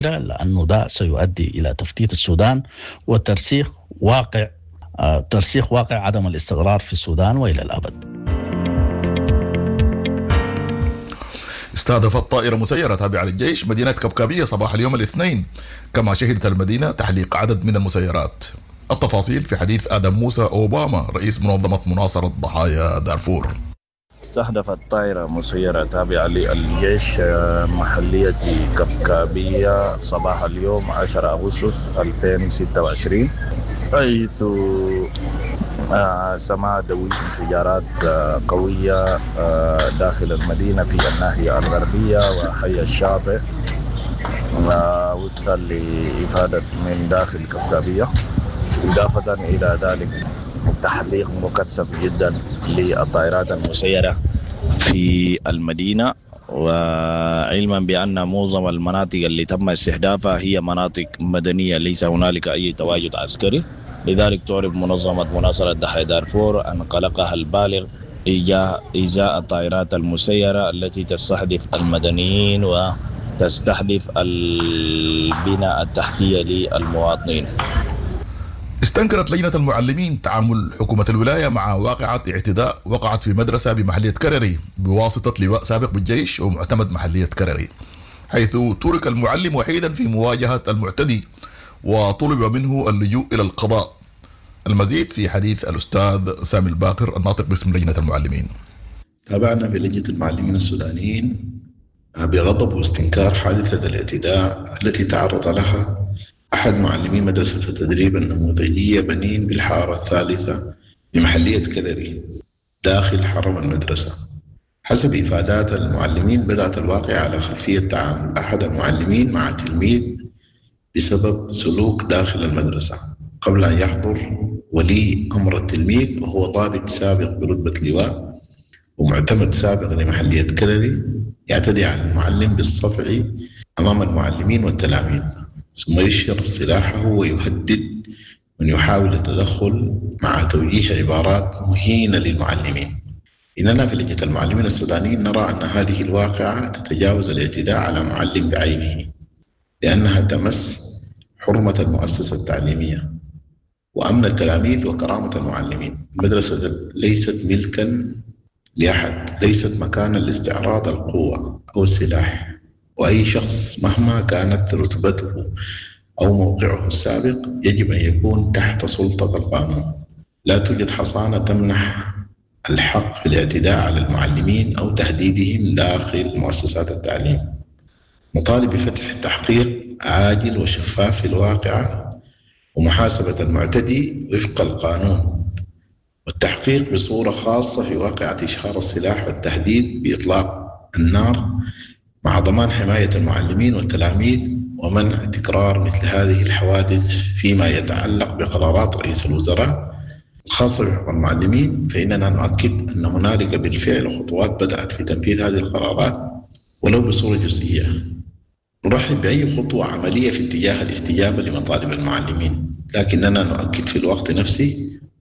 لأنه ده سيؤدي إلى تفتيت السودان وترسيخ واقع ترسيخ واقع عدم الاستقرار في السودان وإلى الأبد. استهدفت طائرة مسيرة تابعة للجيش مدينة كبكابية صباح اليوم الاثنين، كما شهدت المدينة تحليق عدد من المسيرات. التفاصيل في حديث آدم موسى أوباما رئيس منظمة مناصرة ضحايا دارفور. استهدفت طائرة مسيرة تابعة للجيش محلية كبكابية صباح اليوم 10 أغسطس 2026، حيث سمع دوي انفجارات قوية داخل المدينة في الناحية الغربية وحي الشاطئ، وفقا لإفادة من داخل كبكابية. إضافة إلى ذلك تحليق مكثف جدا للطائرات المسيرة في المدينة، وعلما بأن معظم المناطق اللي تم استهدافها هي مناطق مدنية، ليس هنالك أي تواجد عسكري. لذلك تعرب منظمة مناصرة ضحايا دارفور عن قلقها البالغ إزاء الطائرات المسيرة التي تستهدف المدنيين وتستهدف البنى التحتية للمواطنين. استنكرت لجنة المعلمين تعامل حكومة الولاية مع واقعة اعتداء وقعت في مدرسة بمحلية كرري بواسطة لواء سابق بالجيش ومعتمد محلية كرري، حيث ترك المعلم وحيدا في مواجهة المعتدي وطلب منه اللجوء إلى القضاء. المزيد في حديث الأستاذ سامي الباقر الناطق باسم لجنة المعلمين. تابعنا في لجنة المعلمين السودانيين بغضب واستنكار حادثة الاعتداء التي تعرض لها أحد معلمي مدرسة التدريب النموذجية بنين بالحارة الثالثة بمحلية كرري داخل حرم المدرسة. حسب إفادات المعلمين، بدأت الواقعة على خلفية تعامل أحد المعلمين مع تلميذ بسبب سلوك داخل المدرسة قبل أن يحضر ولي أمر التلميذ، وهو ضابط سابق برتبة لواء ومعتمد سابق لمحلية كرري، يعتدي على المعلم بالصفع أمام المعلمين والتلاميذ، ثم يشهر سلاحه ويهدد من يحاول التدخل مع توجيه عبارات مهينة للمعلمين. إننا في لجنة المعلمين السودانيين نرى أن هذه الواقعة تتجاوز الاعتداء على معلم بعينه، لأنها تمس حرمة المؤسسة التعليمية وأمن التلاميذ وكرامة المعلمين. المدرسة ليست ملكا لأحد، ليست مكانا لاستعراض القوة أو السلاح، وأي شخص مهما كانت رتبته أو موقعه السابق يجب أن يكون تحت سلطة القانون. لا توجد حصانة تمنح الحق في الاعتداء على المعلمين أو تهديدهم داخل مؤسسات التعليم. نطالب بفتح تحقيق عاجل وشفاف في الواقعة ومحاسبة المعتدي وفق القانون، والتحقيق بصورة خاصة في واقعة إشهار السلاح والتهديد بإطلاق النار، مع ضمان حماية المعلمين والتلاميذ ومنع تكرار مثل هذه الحوادث. فيما يتعلق بقرارات رئيس الوزراء الخاصة بحقوق المعلمين، فإننا نؤكد أن هنالك بالفعل خطوات بدأت في تنفيذ هذه القرارات ولو بصورة جزئية. نرحب بأي خطوة عملية في اتجاه الاستجابة لمطالب المعلمين، لكننا نؤكد في الوقت نفسه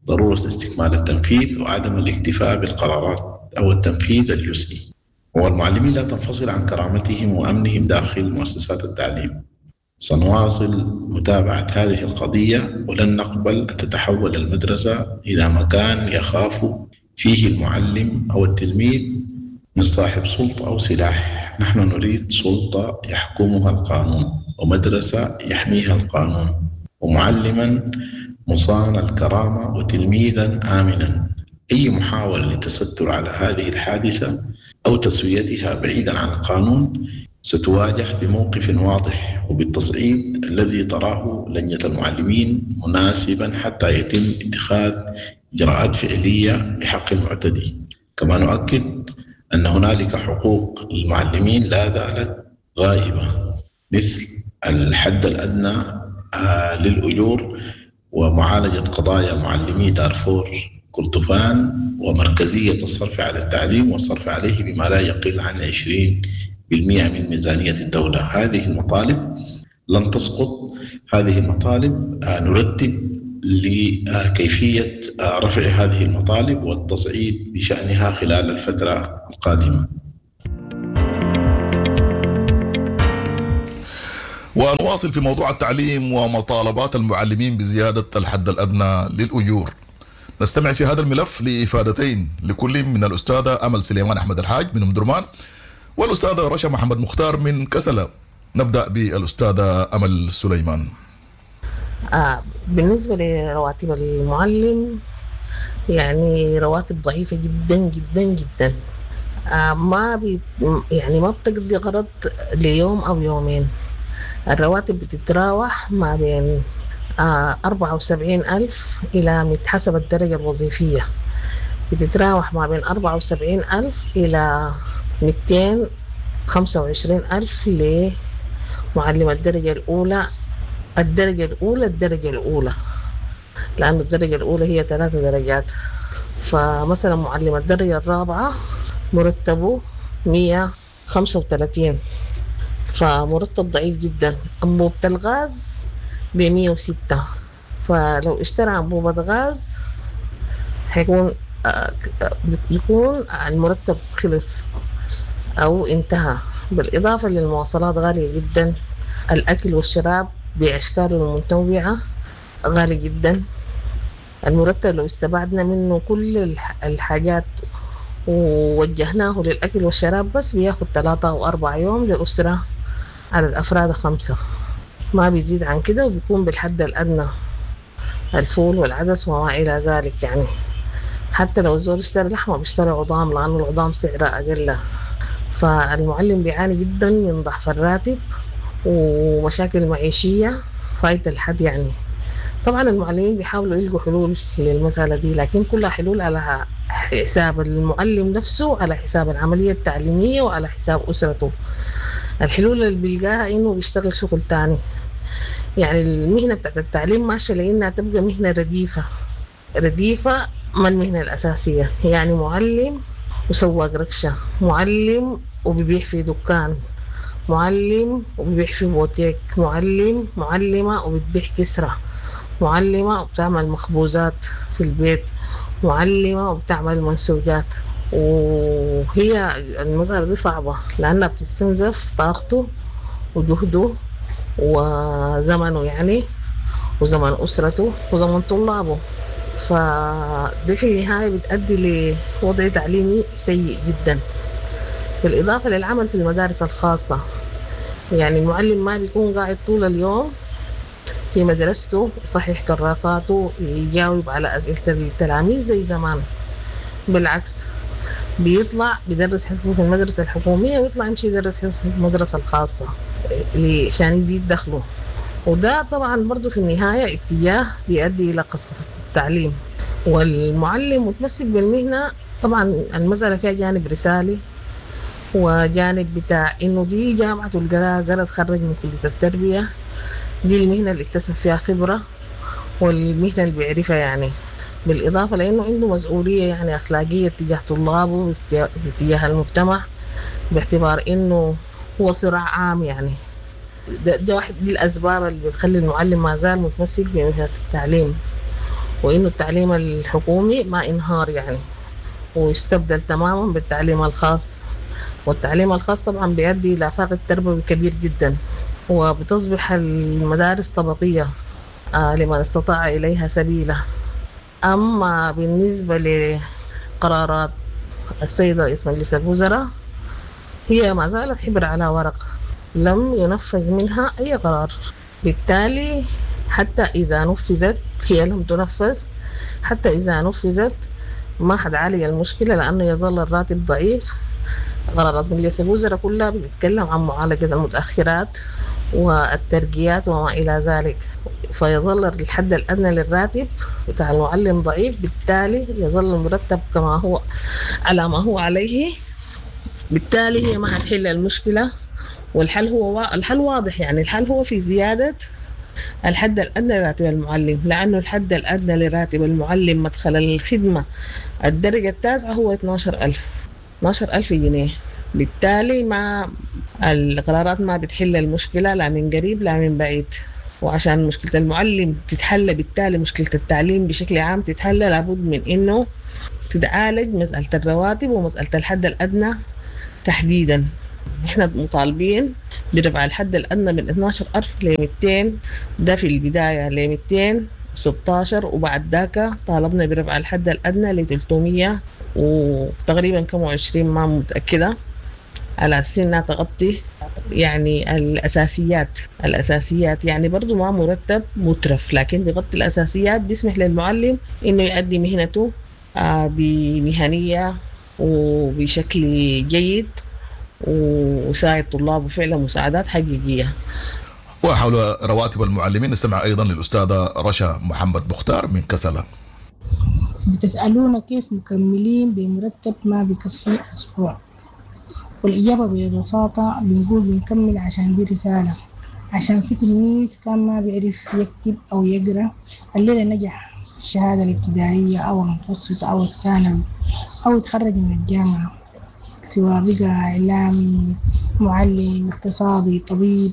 ضرورة استكمال التنفيذ وعدم الاكتفاء بالقرارات أو التنفيذ الجزئي. والمعلمين لا تنفصل عن كرامتهم وأمنهم داخل مؤسسات التعليم. سنواصل متابعة هذه القضية، ولن نقبل أن تتحول المدرسة إلى مكان يخاف فيه المعلم أو التلميذ من صاحب سلطة أو سلاح. نحن نريد سلطة يحكمها القانون، ومدرسة يحميها القانون، ومعلما مصان الكرامة، وتلميذا آمنا. أي محاولة للتستر على هذه الحادثة أو تسويتها بعيدا عن القانون ستواجه بموقف واضح وبالتصعيد الذي تراه لجنة المعلمين مناسبا حتى يتم اتخاذ إجراءات فعلية بحق المعتدي. كما نؤكد أن هنالك حقوق للمعلمين لا زالت غائبة، مثل الحد الأدنى للأجور ومعالجة قضايا معلمي دارفور كردفان، ومركزية الصرف على التعليم والصرف عليه بما لا يقل عن 20% من ميزانية الدولة. هذه المطالب لن تسقط، هذه المطالب نرتب لكيفية رفع هذه المطالب والتصعيد بشأنها خلال الفترة القادمة. ونواصل في موضوع التعليم ومطالبات المعلمين بزيادة الحد الأدنى للأجور. نستمع في هذا الملف لإفادتين لكل من الأستاذة أمل سليمان أحمد الحاج من أم درمان والأستاذة رشا محمد مختار من كسلة. نبدأ بالأستاذة أمل سليمان. بالنسبة لرواتب المعلم، يعني رواتب ضعيفة جدا جدا جدا، ما بي يعني ما بتقضي غرض ليوم أو يومين. الرواتب بتتراوح ما بين 74,000 إلى حسب الدرجة الوظيفية، بتتراوح ما بين 74,000 إلى 225,000 لمعلم الدرجة الأولى. الدرجة الأولى الدرجة الأولى، لأن الدرجة الأولى هي 3 درجات. فمثلا معلم الدرجة الرابعة مرتبه 135، فمرتب ضعيف جدا. أنبوبة الغاز ب106، فلو اشترى أنبوبة غاز حيكون بيكون المرتب خلص أو انتهى. بالإضافة للمواصلات غالية جدا، الأكل والشراب بأشكاله المتنوعة غالي جدا. المرتب لو استبعدنا منه كل الحاجات ووجهناه للأكل والشراب بس بياخد 3 أو 4 يوم لأسرة عدد أفراد 5، ما بيزيد عن كده، وبيكون بالحد الأدنى الفول والعدس وما إلى ذلك. يعني حتى لو الزول اشترى لحمة بيشتري عظام لأنه العظام سعرها أقل. فالمعلم بيعاني جدا من ضعف الراتب ومشاكل معيشية فايتة الحد. يعني طبعا المعلمين بيحاولوا يلقوا حلول للمسألة دي، لكن كلها حلول على حساب المعلم نفسه، على حساب العملية التعليمية، وعلى حساب أسرته. الحلول اللي بيلقاها إنه بيشتغل شغل تاني. يعني المهنة بتاعت التعليم ماشية لإنها تبقى مهنة رديفة، رديفة ما المهنة الأساسية. يعني معلم وسواق ركشة، معلم وبيبيع في دكان، معلم وبيبيع في بوتيك، معلم معلمة وبتبيع كسرة، معلمة وبتعمل مخبوزات في البيت، معلمة وبتعمل منسوجات. وهي المسألة دي صعبة لأنها بتستنزف طاقته وجهده وزمنه، يعني وزمن أسرته وزمن طلابه. فدي في النهاية بتؤدي لوضع تعليمي سيء جدا. بالإضافة للعمل في المدارس الخاصة، يعني المعلم ما بيكون قاعد طول اليوم في مدرسته يصحح كراساته يجاوب على أسئلة التلاميذ زي زمان، بالعكس بيطلع بيدرس حصصه في المدرسة الحكومية ويطلع يمشي يدرس حصصه في المدرسة الخاصة عشان يزيد دخله. وده طبعا برضو في النهاية اتجاه بيؤدي إلى قصقصة التعليم. والمعلم متمسك بالمهنة، طبعا المسألة فيها جانب رسالي وجانب بتاع إنه دي جامعة القراءة، قرأ تخرج من كلية التربية، دي المهنة اللي اكتسب فيها خبرة والمهنة اللي بيعرفها يعني. بالإضافة لأنه عنده مسؤولية يعني أخلاقية تجاه طلابه وتجاه المجتمع، باعتبار إنه هو صراع عام. يعني ده واحد دي الأسباب اللي بتخلي المعلم ما زال متمسك بمهنة التعليم، وإنه التعليم الحكومي ما انهار يعني ويستبدل تماما بالتعليم الخاص. والتعليم الخاص طبعا بيؤدي إلى فاقد تربوي كبير جدا، وبتصبح المدارس طبقية لمن استطاع إليها سبيلا. أما بالنسبة لقرارات السيد رئيس مجلس الوزراء، هي ما زالت حبر على ورق، لم ينفذ منها أي قرار. بالتالي حتى إذا نفذت هي لم تنفذ، حتى إذا نفذت ما حتعالج المشكلة لأنه يظل الراتب ضعيف. قرارات مجلس الوزراء كلها بتتكلم عن معالجة المتأخرات والترقيات وما إلى ذلك، فيظل الحد الأدنى للراتب بتاع المعلم ضعيف، بالتالي يظل المرتب كما هو على ما هو عليه. بالتالي هي ما حتحل المشكلة، والحل هو الحل واضح، يعني الحل هو في زيادة الحد الأدنى لراتب المعلم، لأنه الحد الأدنى لراتب المعلم مدخل الخدمة الدرجة التاسعة هو 12,000 جنيه. بالتالي ما القرارات ما بتحل المشكلة لا من قريب لا من بعيد. وعشان مشكلة المعلم تتحل، بالتالي مشكلة التعليم بشكل عام تتحل، لابد من إنه تتعالج مسألة الرواتب ومسألة الحد الأدنى تحديدا. احنا مطالبين برفع الحد الأدنى من 12000 ل 200، ده في البداية ل 216، وبعد ذاك طالبنا برفع الحد الأدنى ل 300 وتقريبا كم 20 ما متأكدة، على أساس إنها تغطي يعني الأساسيات يعني برضو ما مرتب مترف، لكن بيغطي الأساسيات، بيسمح للمعلم إنه يؤدي مهنته بمهنية وبشكل جيد وساعد طلابه فعلا مساعدات حقيقية. وحول رواتب المعلمين نستمع أيضا للأستاذة رشا محمد مختار من كسلة. بتسألونا كيف مكملين بمرتب ما بكفي أسبوع؟ والإجابة ببساطة بنقول بنكمل عشان دي رسالة، عشان في تلميذ كان ما بيعرف يكتب أو يقرأ الليلة نجح في الشهادة الابتدائية أو المتوسطة أو الثانوي أو يتخرج من الجامعة، سواء بقى إعلامي، معلم، اقتصادي، طبيب،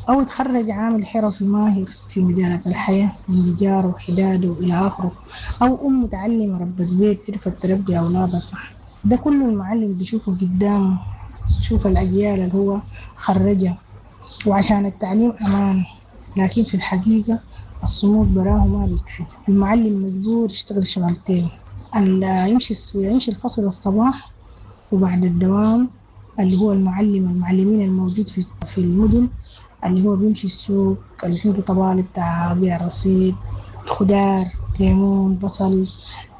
أو يتخرج عامل حرفي ماهر في مجالات الحياة من نجارة وحداده وإلى آخره، أو أم متعلمة ربة بيت عرفت تربي أولادها صح. ده كله المعلم بيشوفه قدامه، شوف الأجيال اللي هو خرجها. وعشان التعليم أمان، لكن في الحقيقة الصمود براه ما بيكفي. المعلم مجبور يشتغل شغلتين، يمشي الفصل الصباح وبعد الدوام اللي هو المعلمين الموجود في المدن، اللي هو بيمشي السوق، اللي عنده طبالي بتاع بيع رصيد، خضار، ليمون، بصل،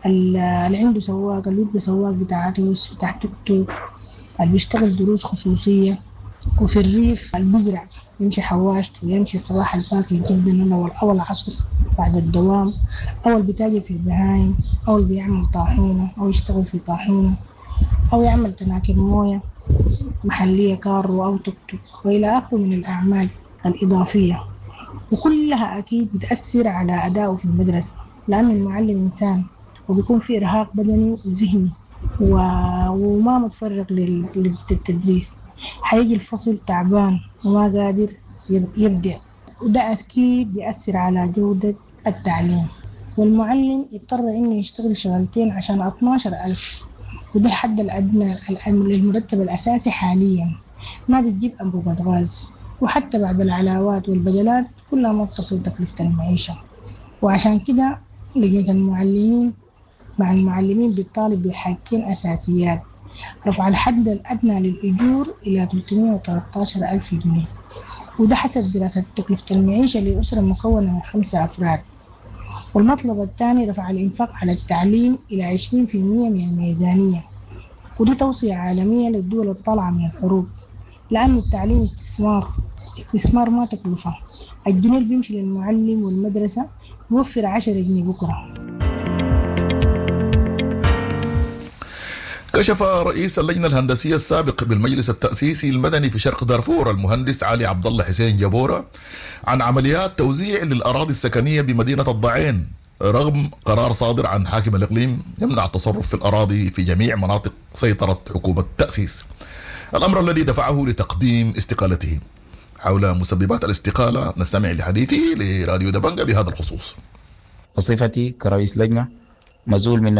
اللي عنده سواق، اللي بيبقى سواق بتاع ريس، بتاع توك توك، اللي بيشتغل دروس خصوصية. وفي الريف اللي بيزرع يمشي حواشته ويمشي الصباح الباكر جدا أو العصر بعد الدوام، أو اللي بيتاجر في البهايم، أو اللي بيعمل طاحونة أو يشتغل في طاحونة، أو يعمل تناكر موية محلية كارو أو توك توك وإلى آخره من الأعمال الإضافية. وكلها أكيد بتأثر على أدائه في المدرسة، لأن المعلم إنسان وبيكون في إرهاق بدني وذهني وما متفرغ للتدريس، حيجي الفصل تعبان وما قادر يبدع، وده أكيد بيأثر على جودة التعليم. والمعلم يضطر إنه يشتغل شغلتين عشان 12,000، وده الحد الأدنى للمرتب الأساسي حاليا، ما بتجيب أنبوبة غاز، وحتى بعد العلاوات والبدلات كلها ما بتصل تكلفة المعيشة. وعشان كده لقيت المعلمين مع المعلمين بتطالب بحاجتين أساسيات: رفع الحد الأدنى للأجور إلى 313,000 جنيه، وده حسب دراسة تكلفة المعيشة لأسرة مكونة من 5 أفراد. والمطلب الثاني رفع الإنفاق على التعليم إلى 20% من الميزانية، ودي توصية عالمية للدول الطالعة من الحروب، لأن التعليم استثمار ما تكلفة. الجنيه اللي بيمشي للمعلم والمدرسة بيوفر 10 جنيه بكرة. كشف رئيس اللجنة الهندسية السابق بالمجلس التأسيسي المدني في شرق دارفور المهندس علي عبد الله حسين جبورة عن عمليات توزيع للأراضي السكنية بمدينة الضعين، رغم قرار صادر عن حاكم الإقليم يمنع التصرف في الأراضي في جميع مناطق سيطرة حكومة التأسيس، الأمر الذي دفعه لتقديم استقالته. حول مسببات الاستقالة نستمع لحديثه لراديو دبنجة بهذا الخصوص. بصفتي كرئيس لجنة مزول من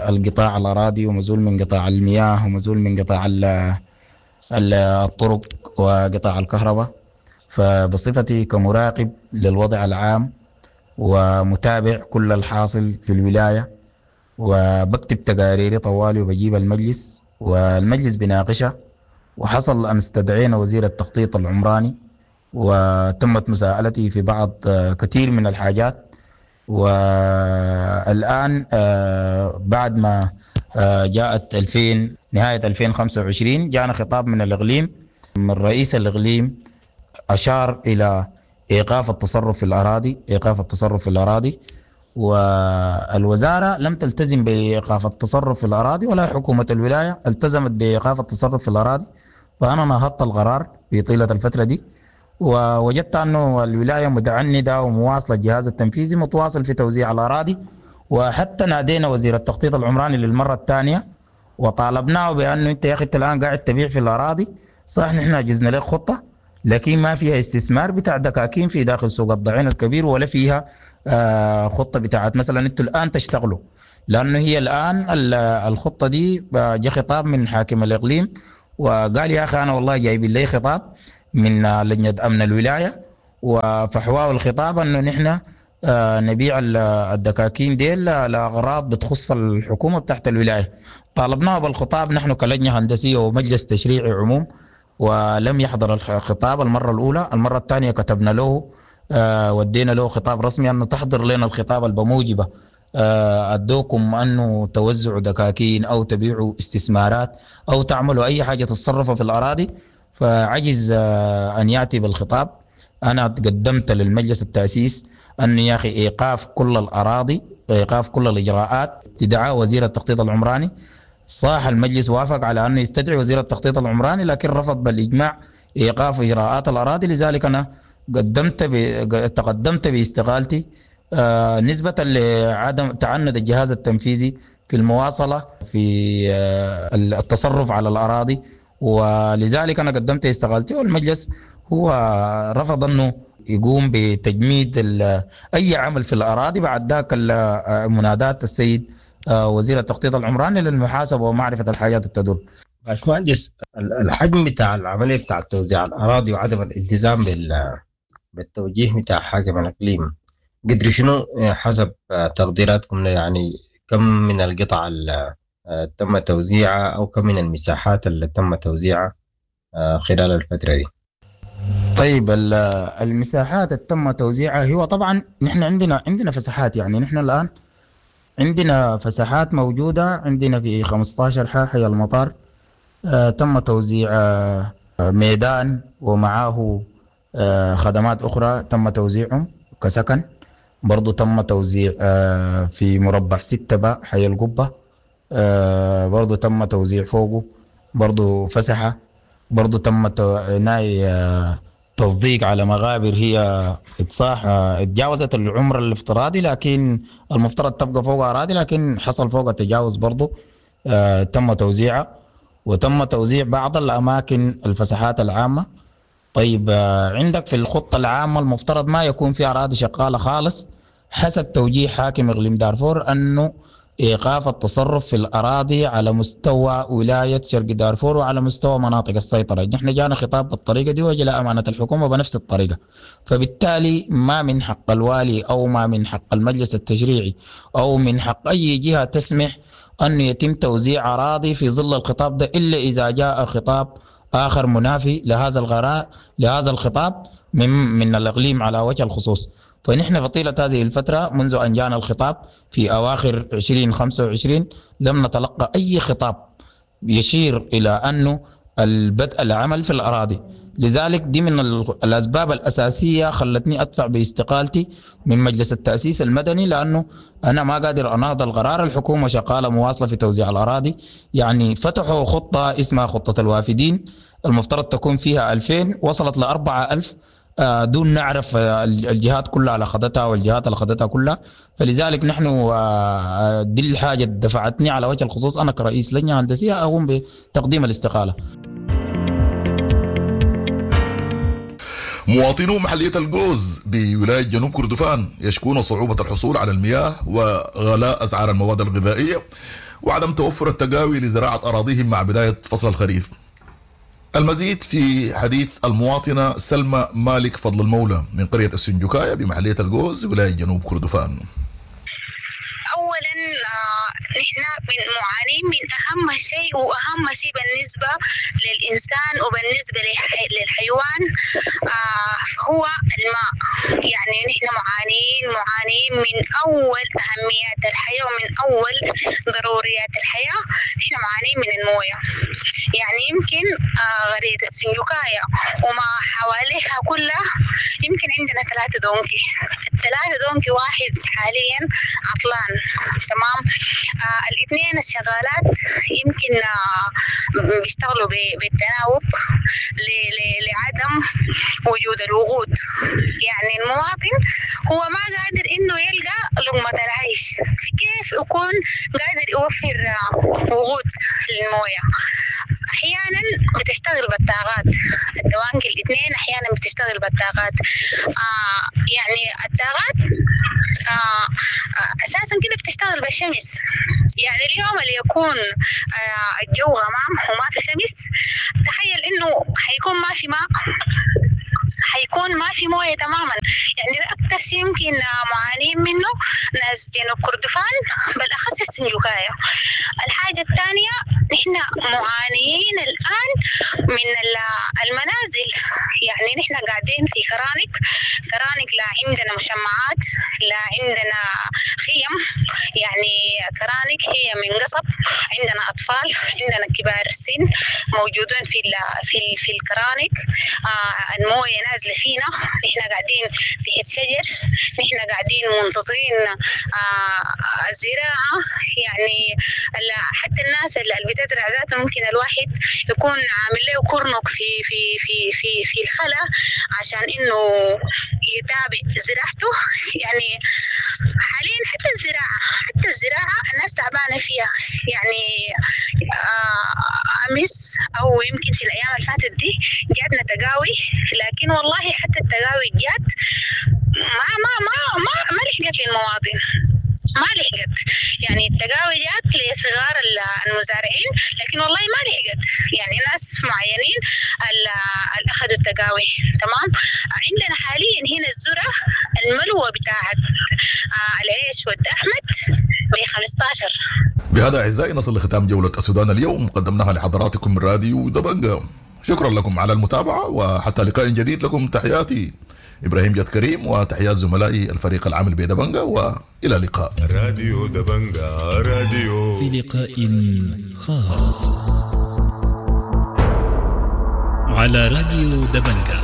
القطاع الأراضي، ومزول من قطاع المياه، ومزول من قطاع الطرق وقطاع الكهرباء، فبصفتي كمراقب للوضع العام ومتابع كل الحاصل في الولاية، وبكتب تقاريري طوالي وبجيب المجلس والمجلس بناقشها. وحصل أن استدعينا وزير التخطيط العمراني وتمت مساءلتي في بعض كثير من الحاجات. والآن بعد ما جاءت نهاية 2025 جاءنا خطاب من الإقليم، من رئيس الإقليم أشار إلى إيقاف التصرف في الأراضي، إيقاف التصرف في الأراضي، والوزارة لم تلتزم بإيقاف التصرف في الأراضي ولا حكومة الولاية التزمت بإيقاف التصرف في الأراضي. فأنا نهضت القرار في طيلة الفترة دي، ووجدت أنه الولاية متعندة ومواصلة، الجهاز التنفيذي متواصل في توزيع الأراضي. وحتى نادينا وزير التخطيط العمراني للمرة الثانية وطالبناه بأنه أنت يا أخي أنت الآن قاعد تبيع في الأراضي، صح نحن أجزنا لك خطة لكن ما فيها استثمار بتاع دكاكين في داخل سوق الضعين الكبير، ولا فيها خطة بتاعت مثلا أنتوا الآن تشتغلوا، لأنه هي الآن الخطة دي جاء خطاب من حاكم الإقليم وقال يا اخي انا والله جايبين لي خطاب من لجنة امن الولاية، وفحواه الخطاب انه نحن نبيع الدكاكين ديل لاغراض بتخص الحكومة بتاعت الولاية. طالبناه بالخطاب نحن كلجنه هندسية ومجلس تشريعي عموم، ولم يحضر الخطاب المرة الاولى. المرة الثانية كتبنا له ودينا له خطاب رسمي انه تحضر لنا الخطاب البموجبه ادوكم انه توزعوا دكاكين او تبيعوا استثمارات او تعملوا اي حاجة تتصرفوا في الاراضي، فعجز ان ياتي بالخطاب. انا قدمت للمجلس التاسيس انه يا اخي ايقاف كل الاراضي، ايقاف كل الاجراءات، استدعاء وزير التخطيط العمراني. صاح المجلس وافق على انه يستدعي وزير التخطيط العمراني، لكن رفض بالاجماع ايقاف اجراءات الاراضي. لذلك انا تقدمت باستقالتي نسبة لعدم تعنت الجهاز التنفيذي في المواصلة في التصرف على الأراضي، ولذلك أنا قدمت استقالتي، والمجلس هو رفض أنه يقوم بتجميد أي عمل في الأراضي بعد ذاك منادات السيد وزير التخطيط العمراني للمحاسبة ومعرفة الحاجات التدور. باشمهندس، الحجم بتاع العملية بتاع توزيع الأراضي وعدم الالتزام بالتوجيه بتاع حاكم الإقليم قدر شنو حسب تقديراتكم؟ يعني كم من القطع اللي تم توزيعها أو كم من المساحات اللي تم توزيعها خلال الفترة دي؟ طيب، المساحات اللي تم توزيعها هو طبعا نحن عندنا فسحات، يعني نحن الآن عندنا فسحات موجودة عندنا في 15 حي المطار. تم توزيع ميدان ومعاه خدمات أخرى تم توزيعهم كسكن. برضو تم توزيع في مربع 6 باء حي القبة، برضو تم توزيع فوقه برضو فسحة. برضو تم ناي تصديق على مغابر هي اتصاح اتجاوزت العمر الافتراضي، لكن المفترض تبقى فوق أراضي، لكن حصل فوق تجاوز برضو تم توزيعها. وتم توزيع بعض الأماكن الفسحات العامة. طيب، عندك في الخطة العامة المفترض ما يكون في أراضي شغالة خالص حسب توجيه حاكم إقليم دارفور أنه إيقاف التصرف في الأراضي على مستوى ولاية شرق دارفور وعلى مستوى مناطق السيطرة. نحن جانا خطاب بالطريقة دي وجاء أمانة الحكومة بنفس الطريقة، فبالتالي ما من حق الوالي أو ما من حق المجلس التشريعي أو من حق أي جهة تسمح أن يتم توزيع أراضي في ظل الخطاب ده، إلا إذا جاء خطاب آخر منافي لهذا الغراء لهذا الخطاب من الإقليم على وجه الخصوص. فنحن في طيلة هذه الفترة منذ أن جاءنا الخطاب في أواخر 2025 لم نتلقى أي خطاب يشير إلى أنه البدء العمل في الأراضي. لذلك دي من الأسباب الأساسية خلتني أدفع باستقالتي من مجلس التأسيس المدني، لأنه أنا ما قادر أناهض القرار. الحكومة شغالة مواصلة في توزيع الأراضي، يعني فتحوا خطة اسمها خطة الوافدين المفترض تكون فيها 2000، وصلت ل 4000 دون نعرف الجهات كلها اللي أخذتها والجهات اللي أخذتها كلها. فلذلك نحن دي الحاجة دفعتني على وجه الخصوص أنا كرئيس لجنة هندسية أقوم بتقديم الاستقالة. مواطنو محلية الجوز بولاية جنوب كردفان يشكون صعوبة الحصول على المياه وغلاء أسعار المواد الغذائية وعدم توفر التقاوي لزراعة أراضيهم مع بداية فصل الخريف. المزيد في حديث المواطنة سلمى مالك فضل المولى من قرية السنجوكاية بمحلية الجوز ولاية جنوب كردفان. اولا نحن من معانين من اهم شيء، واهم شيء بالنسبة للانسان وبالنسبة للحيوان هو الماء. يعني نحن معانين من اول اهميات الحياة ومن اول ضروريات الحياة، نحن معانين من المويه. يعني يمكن قرية السنجوكاية وما حواليها كلها يمكن عندنا 3 دونكي، ال3 دونكي واحد حاليا عطلان، تمام. الاثنين الشغالات يمكن بيشتغلوا بالتناوب لعدم وجود الوقود. يعني المواطن هو ما قادر انه يلقى لقمة العيش، كيف يكون قادر يوفر وقود للموية؟ احيانا بتشتغل بالطاقات، الدوانك الاثنين احيانا بتشتغل بالطاقات. يعني الطاقات أساسا كده بتشتغل بالشمس. يعني اليوم اللي يكون الجو غمام وما في شمس، تخيل إنه حيكون ما في ماء، حيكون ما في موية تماما. يعني ده أكتر شيء يمكن معانين منه ناس جنوب كردفان، بالأخص السنجوكاية. الحاجة الثانية، نحن معانيين الآن من المنازل. يعني نحن قاعدين في كرانك، كرانك لا عندنا مشمعات، لا عندنا خيم، يعني كرانك هي من قصب. عندنا أطفال، عندنا كبار السن موجودون في الكرانك. الموية نازلة فينا، نحن قاعدين تحت شجر، نحن قاعدين منتظرين الزراعة. يعني حتى الناس اللي بتزرع ذاته ممكن الواحد يكون عامل له كرنك في في في في في الخلا عشان انه يتابع زراعته. يعني حاليا حتى الزراعة الناس تعبانة فيها. يعني أمس أو يمكن في الأيام اللي فاتت دي جاتنا تقاوي، لكن والله حتى التقاوي جات ما ما ما ما ما لحقت للمواطن، ما لحقت. يعني التقاوي جات لصغار المزارعين، لكن والله ما لحقت. يعني ناس معينين اللي أخذوا التقاوي. تمام. عندنا حاليا هنا الذرة الملوى بتاعت العيش والأحمد ب 15. بهذا أعزائي نصل لختام جولة السودان اليوم، قدمناها لحضراتكم من راديو دبنجة. شكرا لكم على المتابعة، وحتى لقاء جديد لكم تحياتي إبراهيم جد كريم وتحيات زملائي الفريق العامل بدبنجة، وإلى اللقاء. راديو دبنجة، راديو في لقاء خاص على راديو دبنجة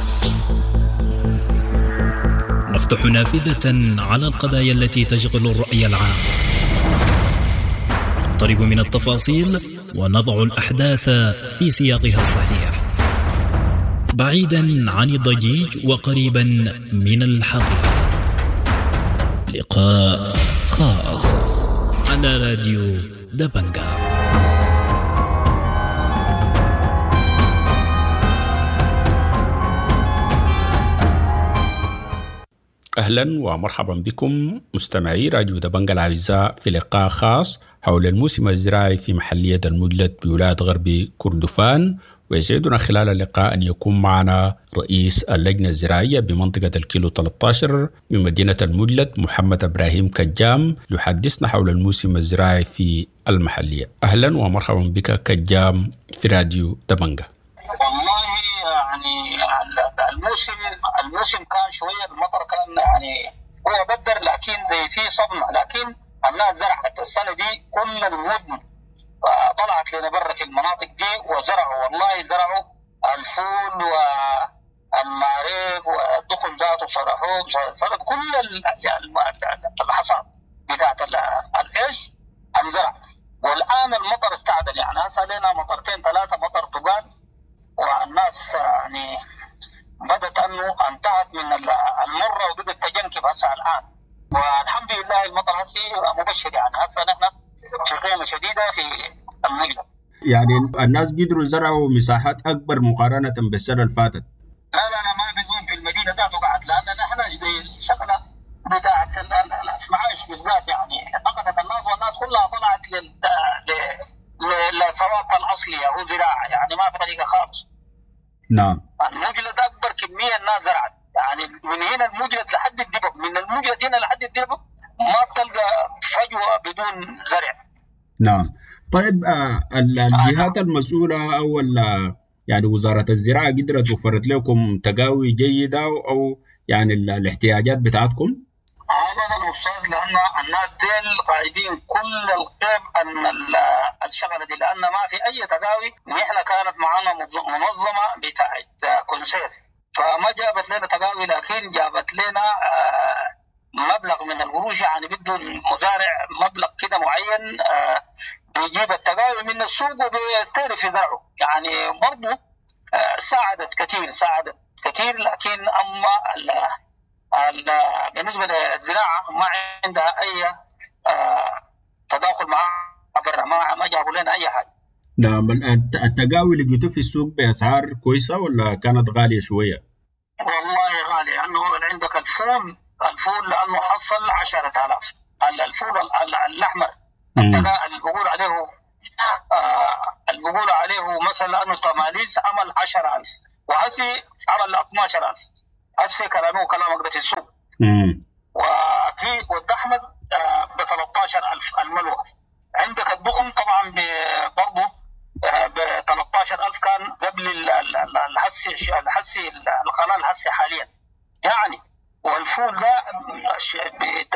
نفتح نافذة على القضايا التي تشغل الرأي العام، نقترب من التفاصيل ونضع الأحداث في سياقها الصحيح، بعيدا عن الضجيج وقريبا من الحقيقة. لقاء خاص على راديو دبنجة. أهلا ومرحبا بكم مستمعي راديو دبنجة الأعزاء في لقاء خاص حول الموسم الزراعي في محلية المجلد بولاية غرب كردفان. ويسعدنا خلال اللقاء أن يكون معنا رئيس اللجنة الزراعية بمنطقة الكيلو 13 بمدينة المجلد محمد إبراهيم كجام يحدثنا حول الموسم الزراعي في المحلية. أهلا ومرحبا بك كجام في راديو دبنجة. والله يعني الموسم كان شوية، المطر كان يعني هو بدر، لكن زي في صدمة، لكن الناس زرعت السنة دي كل المدن طلعت لنا برا في المناطق دي وزرعوا، والله زرعوا الفول والمعريق والدخن ذاته، صرحوه صرح كل الحصاد بتاعت العيش انزرع. والآن المطر استعدل، يعني هسه لنا مطرتين ثلاثة مطر تقال، والناس يعني بدت انه انتهت من المره وبدت تجنكب هسه الان، والحمد لله المطر هسه مبشر، يعني هسه نحن في قيمه شديده في المجلد. يعني الناس قدروا زرعوا مساحات اكبر مقارنه بالسنه اللي فاتت. لا لا لا، ما بيكون في المدينه ذاته قعد، لان نحن زي الشغله بتاعت المعايش بالذات، يعني فقدت الناس والناس كلها طلعت لصوابها الاصليه وزراعه، يعني ما في طريقه خالص. نعم. المجلد اكبر كميه الناس زرعت، يعني من هنا المجلد لحد الدبب، من المجلد هنا لحد الدبب ما بتلقى فجوه بدون زرع. نعم. طيب الجهات المسؤوله او يعني وزاره الزراعه قدرت وفرت لكم تقاوي جيده او يعني الاحتياجات بتاعتكم؟ ابدا الاستاذ، لان الناس ديل غايبين كل الغيب ان الشغله دي، لان ما في اي تقاوي. نحن كانت معنا منظمه بتاعت كونسير، فما جابت لنا تقاوي، لكن جابت لنا مبلغ من القروش، يعني بده المزارع مبلغ كده معين بيجيب التقاوي من السوق وبيستهلك في زرعه، يعني برضه ساعدت كثير، ساعدت كثير. لكن اما بالنسبه للزراعه ما عندها اي تداخل مع برا، ما جابوا لنا اي حاجه. نعم. التقاوي لقيته في السوق باسعار كويسه ولا كانت غاليه شويه؟ والله غاليه، لانه عندك الفول لانه حصل 10,000 الفول الاحمر اللي بقول عليه اللي بقول عليه مثلا انه تماليس عمل 10000، وهسي عمل 12000. هسي كلامه كلامك ده في السوق. وفي ود احمد ب 13000 الملوه. عندك الدخن طبعا برضه ب 13000 كان قبل الحسي القناة الحسي حاليا يعني. والفول ده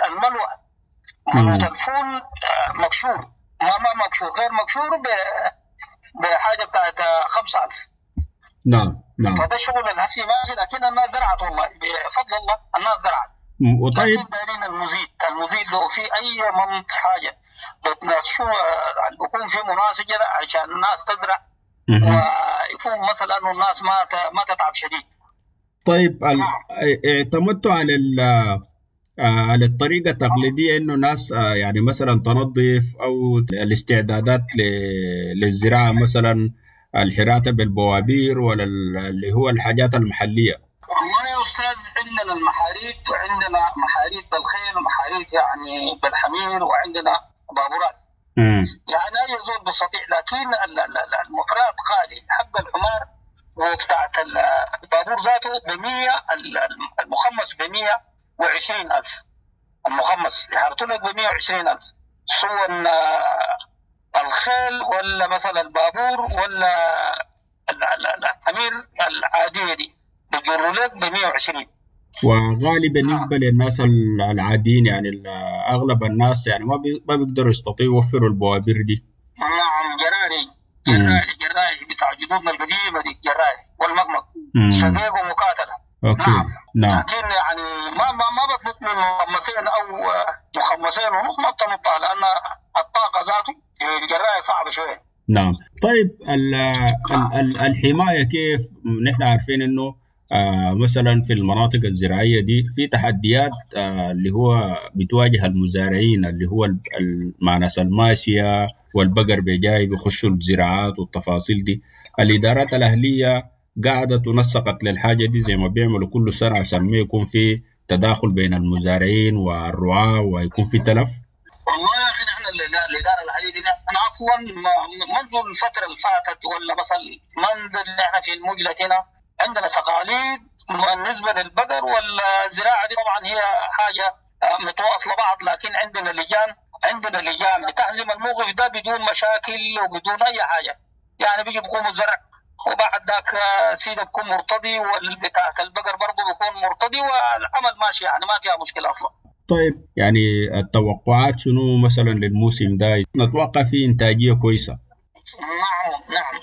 الملوه، ملوه الفول مكشور، ما مكشور، غير مكشور بحاجة بتاعت 5000. نعم نعم. فده شغل الهسي ماشي، لكن الناس زرعت والله بفضل الله، الناس زرعت. وطيب لكن دايرين المزيد لو في اي منط حاجة بتناشوا بيكون في مناسجه عشان الناس تزرع، ويكون مثلا انه الناس ما تتعب شديد. طيب اعتمدتوا على على الطريقة التقليدية انه ناس يعني مثلا تنظف او الاستعدادات للزراعة، مثلا الحراتة بالبوابير ولا اللي هو الحاجات المحلية؟ والله يا استاذ عندنا المحاريت، وعندنا محاريت بالخيل ومحاريت يعني بالحمير، وعندنا بابورات. يعني اي زول بيستطيع، لكن المحرات غالي، حق الحمار وبتاعت البابور ذاته ب 100، المخمس ب 120000، المخمس يحرطوا لك ب 120000، سواء الخيل ولا مثلا البابور ولا الحمير العادية دي بيجروا لك ب 120. وغالي بالنسبة للناس العاديين، يعني اغلب الناس يعني ما بيقدروا يستطيعوا يوفروا البوابير دي. نعم، جراري جراري بتاع جدودنا القديمة دي، جراري والمقمق شقيق ومقاتله. okay. نعم. لكن يعني ما بتنط من مخمسين او مخمسين ونص، ما بتنطها لان الطاقة ذاته الجرايه صعبة شوية. نعم. طيب الحماية كيف؟ نحن عارفين انه مثلا في المناطق الزراعية دي في تحديات اللي هو بتواجه المزارعين، اللي هو مع ناس الماشية والبقر بيجاي بيخشوا الزراعات والتفاصيل دي. الادارات الاهلية قعدت ونسقت للحاجة دي زي ما بيعملوا كل سنة عشان ما يكون في تداخل بين المزارعين والرعاة ويكون في تلف؟ والله يا اخي نحن الادارة الاهلية دي نحن اصلا منذ الفترة اللي فاتت، ولا مثلا منذ نحن في المجلة هنا عندنا تقاليد بالنسبة للبقر والزراعة دي، طبعا هي حاجة متواصلة بعض، لكن عندنا لجان بتحزم الموقف ده بدون مشاكل وبدون اي حاجة. يعني بيجي بيقوموا الزرع، وبعد ذاك سيده بيكون مرتضي، والبتاعة البقر برضه بيكون مرتضي، والعمل ماشي يعني ما فيها مشكلة اصلا. طيب يعني التوقعات شنو مثلا للموسم ده؟ نتوقع فيه انتاجية كويسة؟ نعم نعم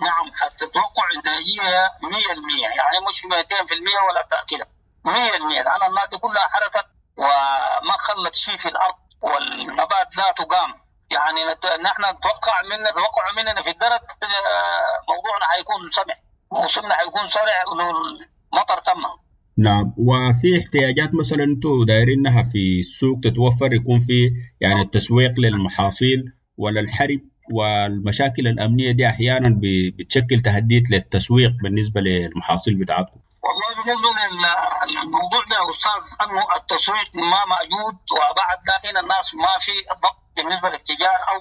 نعم، حتتوقع انتاجية 100%، يعني مش 200% ولا كده، 100%، لان الناس كلها حرثت وما خلت شيء في الارض، والنبات ذاته قام. يعني نحن نتوقع مننا في الدرك موضوعنا حيكون سمع، موسمنا حيكون سرع لو المطر تم. نعم. وفي احتياجات مثلا انتم دايرينها في السوق تتوفر، يكون في يعني التسويق للمحاصيل ولا الحرب والمشاكل الأمنية دي أحيانا بتشكل تهديد للتسويق بالنسبة للمحاصيل بتاعتكم؟ والله بالنسبة للموضوع ده يا أستاذ أنه التسويق ما موجود، وبعد لكن الناس ما في ضبط بالنسبة للتجار أو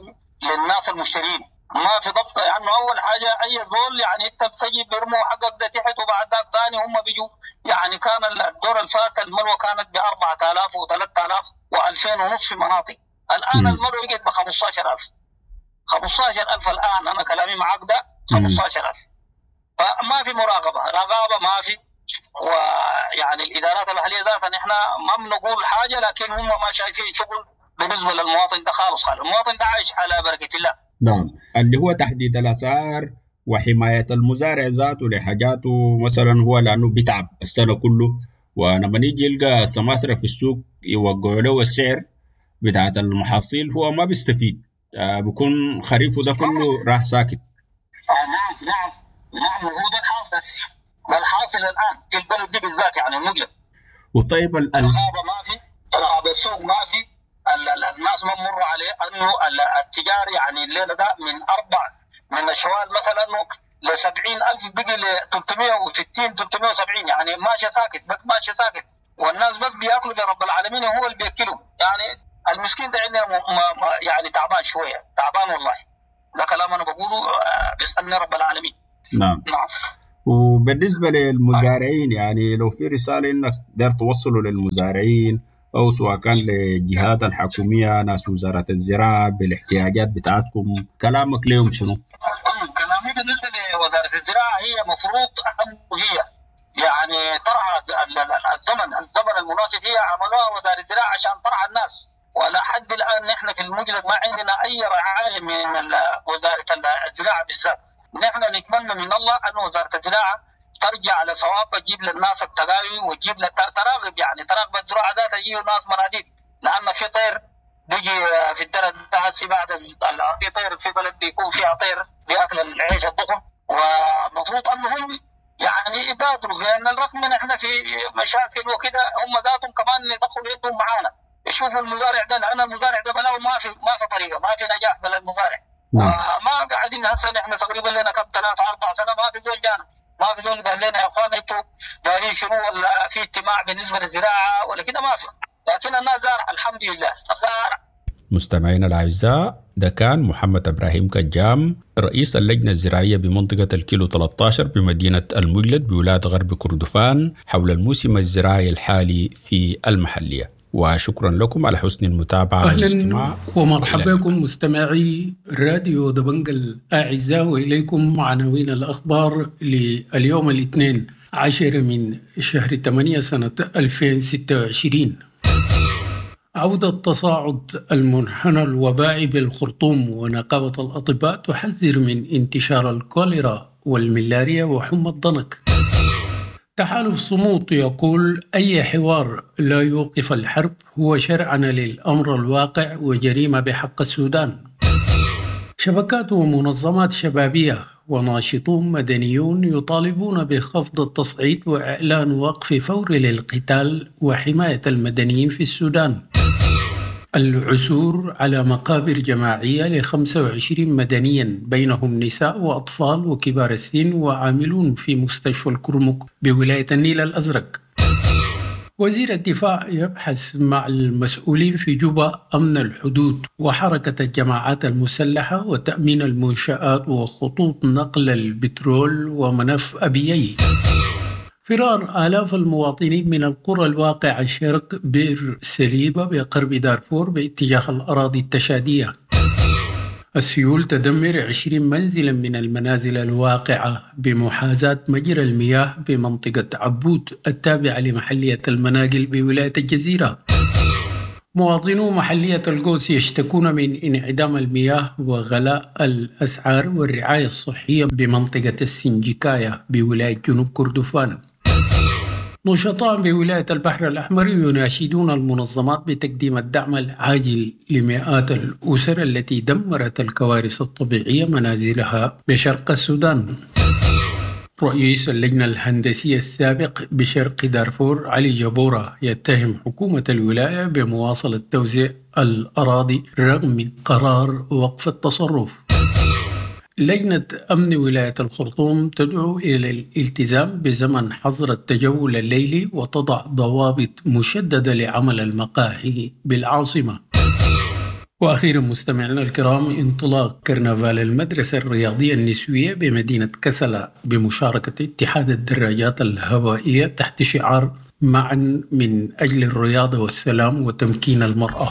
للناس المشترين، ما في ضبط. يعني أول حاجة أي زول يعني أنت بتجي بيرموا حقك ده تحت، وبعد ذاك ثاني هم بيجوا. يعني كان الدور الفات الملوى كانت ب 4000 و3000 و2000 ونص في مناطق، الآن الملوى بقت ب 15000. 15000 الآن أنا كلامي معاك ده 15000. فما في مراقبة، رقابة ما في. ويعني الإدارات الأهلية ذاتها نحن ما بنقول حاجة، لكن هم ما شايفين شغل بالنسبة للمواطن ده خالص. خالص المواطن ده عايش على بركة الله. نعم، اللي هو تحديد الأسعار وحماية المزارع ذاته لحاجاته، مثلا هو لأنه بيتعب السنة كله، ولما يجي يلقى سماسرة في السوق يوقعوا له السعر بتاعت المحاصيل هو ما بيستفيد، بيكون خريفه ده كله راح ساكت. نعم نعم نعم، وهو ده الحاصل، ده الحاصل الآن في البلد دي بالذات يعني المجلس. وطيب الغابة ما في، رقابة السوق ما في، الناس ما مروا عليه انه التجار يعني الليلة ده من اربع من الشوال مثلا انه ل 70000 بقي ل 360 370، يعني ماشي ساكت، بس ماشي ساكت، والناس بس بياكلوا برب العالمين هو اللي بياكلهم. يعني المسكين ده عندنا يعني تعبان شوية، تعبان والله. ده كلام انا بقوله بيسالني رب العالمين. نعم. نعم. وبالنسبة للمزارعين، يعني لو في رسالة انك داير توصله للمزارعين او سواء كان للجهات الحكومية، ناس وزارة الزراعة، بالاحتياجات بتاعتكم، كلامك لهم شنو؟ كلامي بالنسبة لوزارة الزراعة هي مفروض هي يعني ترعى الزمن المناسب. هي عملوها وزارة الزراعة عشان ترعى الناس، ولا حد الان نحن في المجلد ما عندنا اي رعاية من وزارة الزراعة بالذات. نحن نتمنى من الله ان وزارة الزراعة ترجع لصوابها، تجيب للناس التقاوي وتجيب تراغب، يعني تراغب الزراعة ذاتها، تجيب الناس مناديب، لان في طير بيجي في الدرة ده هسي بعد في طير في بلد بيكون فيها طير بياكل العيش الضخم، ومفروض انهم يعني يبادروا، لان الرغم من احنا في مشاكل وكده هم ذاتهم كمان يدخلوا يدهم معانا، يشوفوا المزارع ده، لان المزارع ده بلاو ما في طريقه، ما في نجاح بلا المزارع. نعم. ما قاعدين هسه نحن تقريبا لنا كم 3-4 سنة ما في زول جانا، ما في زول قال لنا يا اخوان انتوا دارين شنو، ولا في اجتماع بالنسبة للزراعة ولا كده، ما في. لكن الناس زارع الحمد لله زارع. مستمعينا الأعزاء، ده كان محمد إبراهيم كجام، رئيس اللجنة الزراعية بمنطقة الكيلو 13 بمدينة المجلد بولاية غرب كردفان، حول الموسم الزراعي الحالي في المحلية. وشكرا لكم على حسن المتابعة أهلا ومرحبا بكم مستمعي راديو دبنج الأعزاء، وإليكم عناوين الأخبار لليوم الاثنين 10 من شهر 8 سنة 2026. عودة تصاعد المنحنى الوبائي بالخرطوم، ونقابة الأطباء تحذر من انتشار الكوليرا والملاريا وحمى الضنك. تحالف صمود يقول أي حوار لا يوقف الحرب هو شرعنة للأمر الواقع وجريمة بحق السودان. شبكات ومنظمات شبابية وناشطون مدنيون يطالبون بخفض التصعيد وإعلان وقف فوري للقتال وحماية المدنيين في السودان. العثور على مقابر جماعية ل25 مدنيا بينهم نساء وأطفال وكبار السن وعاملون في مستشفى الكرمك بولاية النيل الأزرق. وزير الدفاع يبحث مع المسؤولين في جوبا أمن الحدود وحركة الجماعات المسلحة وتأمين المنشآت وخطوط نقل البترول وملف أبيي. فرار آلاف المواطنين من القرى الواقعة شرق بئر سليبة بقرب دارفور باتجاه الأراضي التشادية. السيول تدمر 20 منزلا من المنازل الواقعة بمحاذاة مجرى المياه بمنطقة عبود التابعة لمحلية المناقل بولاية الجزيرة. مواطنو محلية القوس يشتكون من انعدام المياه وغلاء الأسعار والرعاية الصحية بمنطقة السنجكاية بولاية جنوب كردفان. نشطاء بولاية البحر الأحمر يناشدون المنظمات بتقديم الدعم العاجل لمئات الأسر التي دمرت الكوارث الطبيعية منازلها بشرق السودان. رئيس اللجنة الهندسية السابق بشرق دارفور علي جبورة يتهم حكومة الولاية بمواصلة توزيع الأراضي رغم قرار وقف التصرف. لجنة أمن ولاية الخرطوم تدعو إلى الالتزام بزمن حظر التجول الليلي وتضع ضوابط مشددة لعمل المقاهي بالعاصمة. وأخيرا مستمعينا الكرام، انطلاق كرنفال المدرسة الرياضية النسوية بمدينة كسلا بمشاركة اتحاد الدراجات الهوائية تحت شعار معا من أجل الرياضة والسلام وتمكين المرأة.